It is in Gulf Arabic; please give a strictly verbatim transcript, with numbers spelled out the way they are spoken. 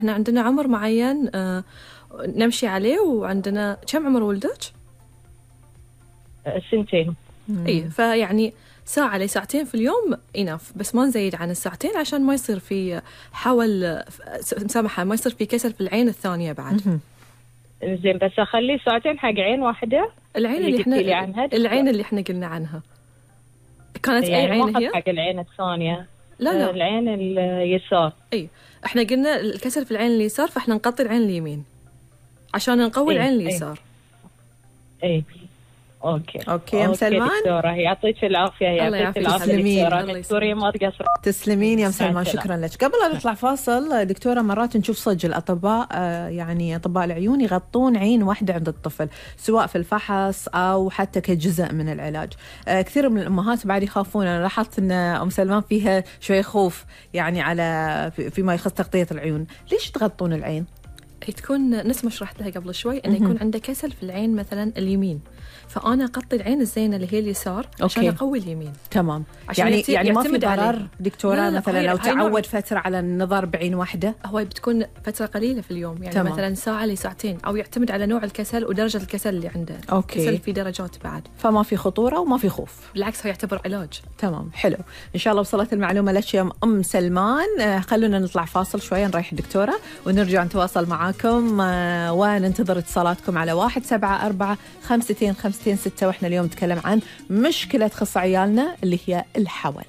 احنا عندنا عمر معين آه نمشي عليه، وعندنا كم عمر ولدك؟ سنتين. اي فيعني ساعة لساعتين في اليوم إناف، بس ما نزيد عن الساعتين عشان ما يصير في حول مسامحة ما يصير في كسل في العين الثانية بعد. زين بس أخلي ساعتين حق عين واحدة. العين اللي, اللي احنا عنها العين اللي احنا قلنا عنها كانت يعني أي عين هي؟ حق العين الثانية. لا لا العين اليسار. اي احنا قلنا الكسل في العين اليسار، فاحنا نغطي العين اليمين عشان نقوي العين اليسار. اي اوكي اوكي يا ام سلمان، دكتوره يعطيك العافيه. يعطيك العافيه دكتوره. دكتوره ما تقصر. تسلمين يا ام سلمان، شكرا لك. قبل لا نطلع فاصل دكتوره، مرات نشوف صدق الاطباء آه يعني اطباء العيون يغطون عين واحده عند الطفل، سواء في الفحص او حتى كجزء من العلاج. آه كثير من الامهات بعد يخافون. انا لاحظت ان ام سلمان فيها شوي خوف يعني على فيما يخص تغطيه العيون. ليش تغطون العين؟ هي تكون نفس ما شرحت لها قبل شوي، انه يكون عنده كسل في العين مثلا اليمين، فانا اغطي العين الزينه اللي هي اليسار عشان أوكي. اقوي اليمين. تمام. يعني يعني ما في ضرر دكتوره لا لا مثلا لو تعود فتره على النظر بعين واحده؟ هو بتكون فتره قليله في اليوم، يعني تمام. مثلا ساعه لساعتين، او يعتمد على نوع الكسل ودرجه الكسل اللي عنده. أوكي. الكسل في درجات بعد، فما في خطوره وما في خوف. بالعكس هو يعتبر علاج. تمام، حلو. ان شاء الله وصلت المعلومه لك يا ام سلمان. خلونا نطلع فاصل شويه نريح الدكتوره ونرجع نتواصل معاكم وننتظر اتصالاتكم على واحد سبعة أربعة خمستين خمستين ستة. واحنا اليوم نتكلم عن مشكلة تخص عيالنا اللي هي الحول.